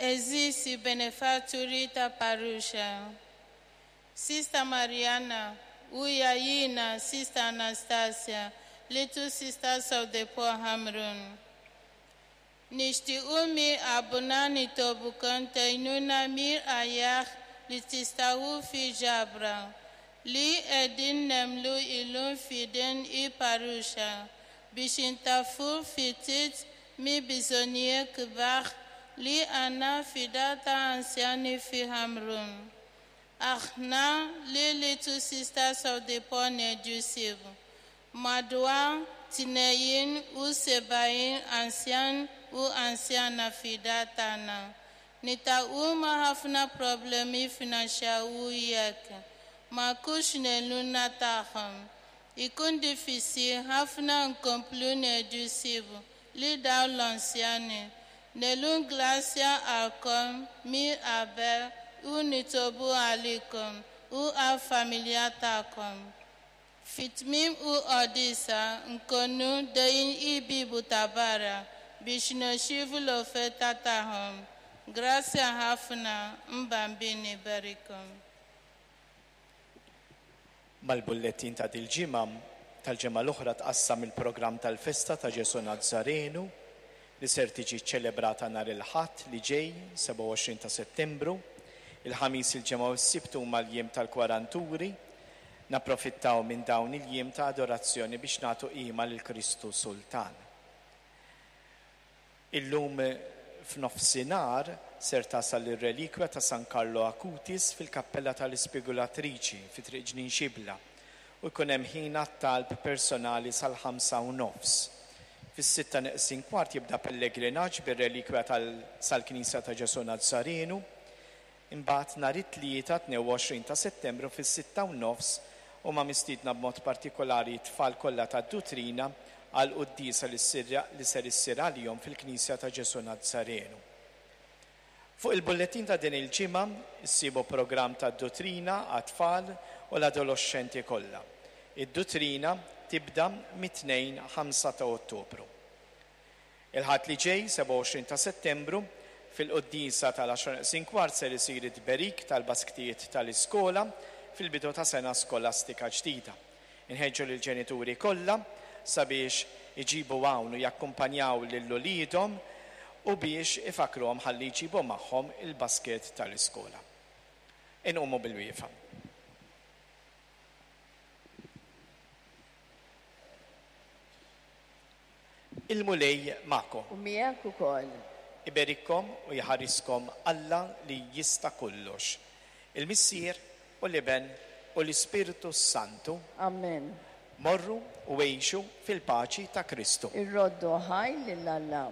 Għeżież benefatturi ta' parruċċa. Sister Mariana, Uyayina, Sister Anastasia, Little Sisters of the Poor Hamrun. Nixtiequ mi abuna nitolbukom tgħinuna mir-rgħajja li tistaħu fi ġabra li qegħdin nagħmlu illum f'idejn il-parruċċa biex intaffu ftit mill-bżonnijiet kbar li għandna fid-dar ta' anzjani fi Ħamrun. Aħna li Little Sisters of the Poor ngħidu madwar 72 anzjan u anzjana fid-dar tagħna. Niltaqgħu ma' ħafna problemi finanzjarji jekk ma jkunx l-għajnuna tagħhom. Ikun diffiċli ħafna nkomplu nieħdu ħsieb lil dawn l-anzjani. Nirringrazzjakom minn qabel u nitolbu għalikom u għal-familja tagħkom. Fi tmiem il-quddiesa nkunu ħdejn il-bieb ta' barra biex nirċievu l-offerta tagħhom. Grazzi ħafna il-Bambin iberikkom. Mal-bullettin ta' dil-ġimgħa tal-ġimgħa l-oħra tqassam il-programm tal-festa ta' Ġesu Nazzarenu li ser tiġi ċelebrata nhar il-Ħadd li ġej, 27 ta' Settembru. Il-Ħamis il-Ġimgħa u s-Sibt huma l-jiem tal-Kwaranturi. Napprofittaw minn dawn il-jiem ta' adorazzjoni biex nagħtu qima lil Kristu Sultan. Illum f'nofsinhar ser tasal ir-relikwja ta' San Carlo Acutis fil-Kappella tal-Ispigulatriċi fi Triq Ġnien Xibla u jkun hemm ħin għat-talb personali sal-5 u nofs. Fis-6 neqsin kwart jibda pellegrinaġġ bir-relikwja tal sal-Knisja ta' Ġesu Nazzarenu. Imbagħad nhar it-Tlieta 22 ta' Settembru fis-6:30 huma mistiedna b'mod partikolari t-tfal kollha tad-Dutrina għal quddiesa li li ser issir għalihom fil-Knisja ta' Ġesu Nazzarenu. Fuq il-bullettin ta' din il-ġimgħa issibu programm ta' Dutrina għat-tfal u l-adolescenti kollha. Id-Dutrina tibda mit-2 5 ta' Ottubru. Il-Ħadd li ġej, 27 ta' Settembru, fil-quddiesa tal-10 neqsin kwart ser isir it-tberik tal-basktijiet tal-iskola fil-bidu ta' sena skolastika ġdida. Inħeġġu lill-ġenituri kollha sabiex iġibu hawn u jakkumpanjaw lil uliedhom u biex ifakruhom ħalli jġibu magħhom il-basket tal-iskola. Inqumu bil-wieqfa. Il-Mulej magħkom. U miegħek ukoll. Iberikkom u jħariskom Alla li jista' kollox. Il-Missier u l-Iben u l-Ispirtu Santu. Amen. Morru u għixu fil-paċi ta' Kristu. Irroddu ħajr lil Alla.